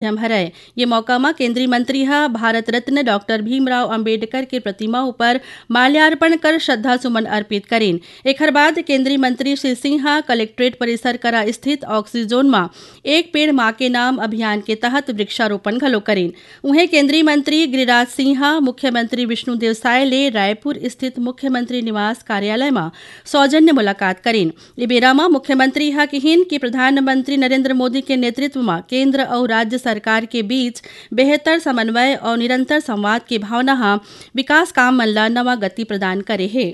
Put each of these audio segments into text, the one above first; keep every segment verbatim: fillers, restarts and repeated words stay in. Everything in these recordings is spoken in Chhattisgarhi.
माध्यम हरय। ये मौका म केंद्रीय मंत्री ह भारत रत्न डॉक्टर भीमराव अंबेडकर के प्रतिमा ऊपर माल्यार्पण कर श्रद्धा सुमन अर्पित करिन। एखर बाद केंद्रीय मंत्री श्री सिंह ह कलेक्ट्रेट परिसर करा स्थित ऑक्सीजोन म एक पेड़ मां के नाम अभियान के तहत वृक्षारोपण घलो करिन। उहें, केंद्रीय मंत्री गिरिराज सिंह ह मुख्यमंत्री विष्णुदेव साय ले रायपुर स्थित मुख्यमंत्री निवास कार्यालय म सौजन्य मुलाकात करिन। ए बेरा म मुख्यमंत्री ह किहिन कि प्रधानमंत्री नरेंद्र मोदी के नेतृत्व म केंद्र अउ राज्य सरकार के बीच बेहतर समन्वय अउ निरंतर संवाद के भावना ह विकास काम मन ल नवा गति प्रदान करे हे।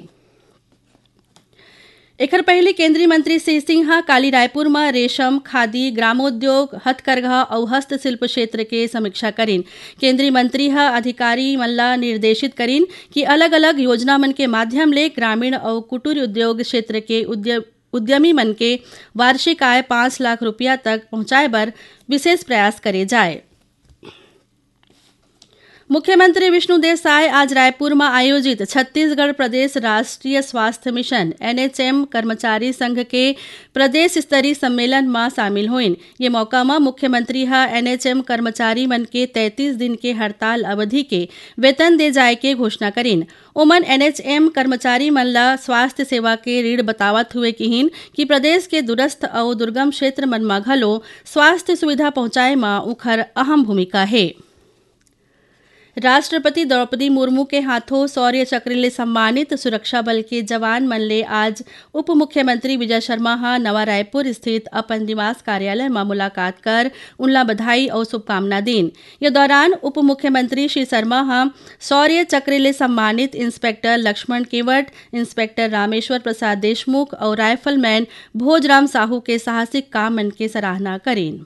एखर पहिली केंद्रीय मंत्री श्री सिंह ह काली रायपुर म रेशम, खादी, ग्रामोद्योग, हथकरघा अउ हस्तशिल्प क्षेत्र के समीक्षा करिन। केंद्रीय मंत्री ह अधिकारी मन ल निर्देशित करिन कि अलग-अलग योजना मन के माध्यम ले ग्रामीण अउ कुटीर उद्योग क्षेत्र के उद्य-, उद्यमी मन के वार्षिक आय पाँच लाख रुपया तक पहुंचाए बर विशेष प्रयास करे जाए। मुख्यमंत्री विष्णुदेव साय आज रायपुर म आयोजित छत्तीसगढ़ प्रदेश राष्ट्रीय स्वास्थ्य मिशन, एनएचएम, कर्मचारी संघ के प्रदेश स्तरीय सम्मेलन म शामिल होइन। ये मौका म मुख्यमंत्री ह एनएचएम कर्मचारी मन के तैंतीस दिन के हड़ताल अवधि के वेतन दे जाय के घोषणा करिन। ओमन एनएचएम कर्मचारी मन ल स्वास्थ्य सेवा के रीढ़ बतावत हुए किहिन कि प्रदेश के दूरस्थ अउ दुर्गम क्षेत्र मन म घलो स्वास्थ्य सुविधा पहुंचाए म उखर अहम भूमिका हे। राष्ट्रपति द्रौपदी मुर्मू के हाथों शौर्य चक्र ले सम्मानित सुरक्षा बल के जवान मन ले आज उप मुख्यमंत्री विजय शर्मा ह नवा रायपुर स्थित अपन निवास कार्यालय म मुलाकात कर उनला बधाई अउ शुभकामना दीन। ये दौरान उप मुख्यमंत्री श्री शर्मा ह शौर्य चक्र ले सम्मानित इंस्पेक्टर लक्ष्मण केवट, इंस्पेक्टर रामेश्वर प्रसाद देशमुख अउ राइफलमैन भोजराम साहू के साहसिक काम मन के सराहना करीन।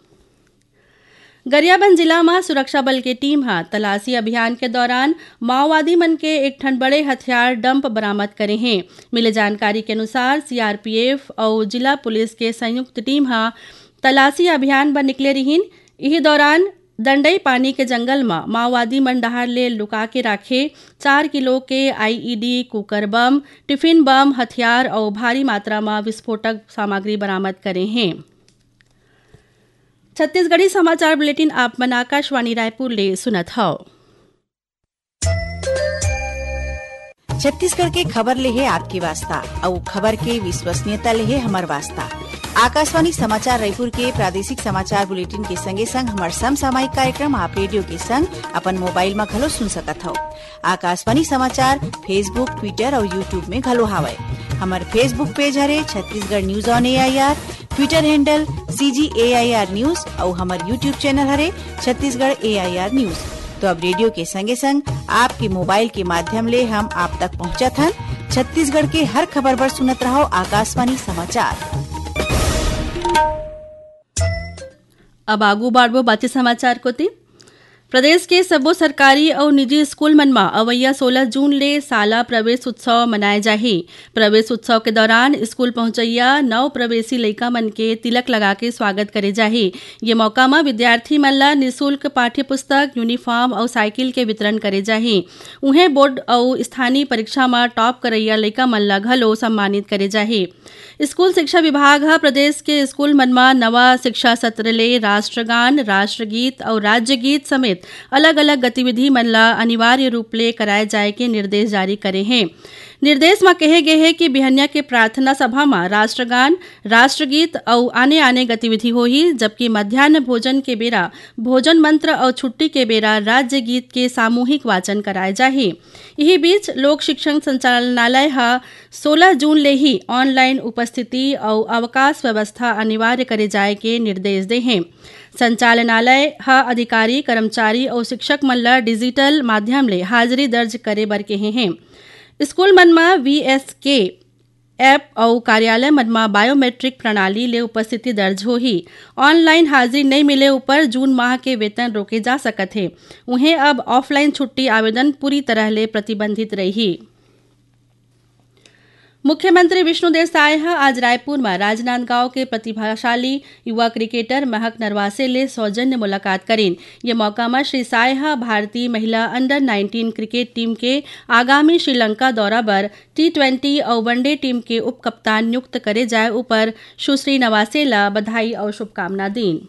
गरियाबंद जिला म सुरक्षा बल के टीम ह तलाशी अभियान के दौरान माओवादी मन के एक ठन बड़े हथियार डंप बरामद करे हे। मिले जानकारी के अनुसार, सीआरपीएफ अउ जिला पुलिस के संयुक्त टीम ह तलाशी अभियान बर निकले रिहिन। इही दौरान दंडई पानी के जंगल म माओवादी मन डहार ले लुका के राखे चार किलो के IED, cooker bomb, tiffin bomb, हथियार अउ भारी मात्रा म विस्फोटक सामग्री बरामद करे हे। छत्तीसगढ़ी समाचार बुलेटिन आप मन आकाशवाणी रायपुर ले सुनत हव। छत्तीसगढ़ के खबर ले हे आपके वास्ता, अउ खबर के विश्वसनीयता ले हे हमर वास्ता। आकाशवाणी समाचार रायपुर के प्रादेशिक समाचार बुलेटिन के संगे संग हमर समसामयिक कार्यक्रम आप रेडियो के संग अपन मोबाइल म घलो सुन सकत हव। आकाशवाणी समाचार Facebook, Twitter अउ YouTube में घलो हावय। हमर Facebook पेज हरे Chhattisgarh news on AIR, Twitter handle CG AIR news अउ हमर YouTube चैनल हरे छत्तीसगढ़ एआईआर न्यूज। तो अब रेडियो के संगे संग आपके मोबाइल के माध्यम ले हम आप तक पहुंचत हन। छत्तीसगढ़ के हर खबर बर सुनत रहव आकाशवाणी समाचार। अब आगू बाढ़बो बाचे समाचार कोति। प्रदेश के सबो सरकारी अउ निजी स्कूल मन म अवइया सोलह जून ले शाला प्रवेश उत्सव मनाए जाही। प्रवेश उत्सव के दौरान स्कूल पहुंचइया नव प्रवेशी लइका मन के तिलक लगा के स्वागत करे जाही। ये मौका म विद्यार्थी मन ल निशुल्क पाठ्य पुस्तक, यूनिफॉर्म अउ साइकिल के वितरण करे जाही। उहें, बोर्ड अउ स्थानीय परीक्षा म टॉप करइया लइका मन ल घलो सम्मानित करे जाही। स्कूल शिक्षा विभाग ह प्रदेश के स्कूल मन म नवा शिक्षा सत्र ले राष्ट्रगान, राष्ट्रगीत अउ राज्य गीत समेत अलग-अलग गतिविधि मन ल अनिवार्य रूप ले कराए जाए के निर्देश जारी करे हे। निर्देश म कहे गे हे कि बिहनिया के प्रार्थना सभा म राष्ट्रगान, राष्ट्रगीत अउ आने-आने गतिविधि होही, जबकि मध्यान्ह भोजन के बेरा भोजन मंत्र अउ छुट्टी के बेरा राज्य गीत के सामूहिक वाचन कराए जाही। इही बीच, लोक शिक्षण संचालनालय ह सोलह जून ले ही ऑनलाइन उपस्थिति अउ अवकाश व्यवस्था अनिवार्य करे जाए के निर्देश दे हे। संचालनालय ह अधिकारी, कर्मचारी अउ शिक्षक मन ल डिजिटल माध्यम ले हाजिरी दर्ज करे बर केहे हे। स्कूल मन म वीएसके ऐप अउ कार्यालय मन म बायोमेट्रिक प्रणाली ले उपस्थिति दर्ज होही। ऑनलाइन हाजिरी नइ मिले ऊपर जून माह के वेतन रोके जा सकत हे। उहें, अब ऑफलाइन छुट्टी आवेदन पूरी तरह ले प्रतिबंधित रही। मुख्यमंत्री विष्णुदेव साय ह आज रायपुर म राजनांदगांव के प्रतिभाशाली युवा क्रिकेटर महक नरवासे ले सौजन्य मुलाकात करीन। ये मौका म श्री साय ह भारतीय महिला अंडर नाइनटीन क्रिकेट टीम के आगामी श्रीलंका दौरा बर टी ट्वेंटी अउ वनडे टीम के उपकप्तान नियुक्त करे जाय ऊपर सुश्री नवासे ल बधाई अउ शुभकामना दीन।